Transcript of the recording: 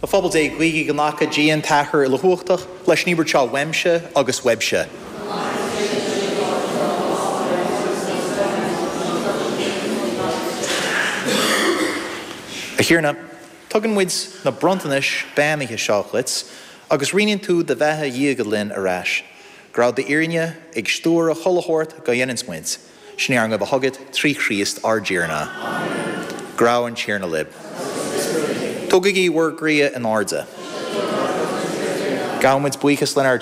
A phobal Dé, guígí go nglaca Dia an tAthair Uilechumhachtach leis an íobairt seo uaimse agus uaibhse. A Thiarna, tugann muid na bronntanais beannaithe seo dhuit agus roinneann tú do bheatha dhiaga linn ar ais. Go raibh d'fhírinne ag stiúradh chuile shórt go dhéananns muid. Sin é ár nguí chugat trí Chríost ár dTiarna. Go raibh an Tiarna libh. Tógaigí bhur gcroíthe in airde. Gabhaimid buíochas lenár.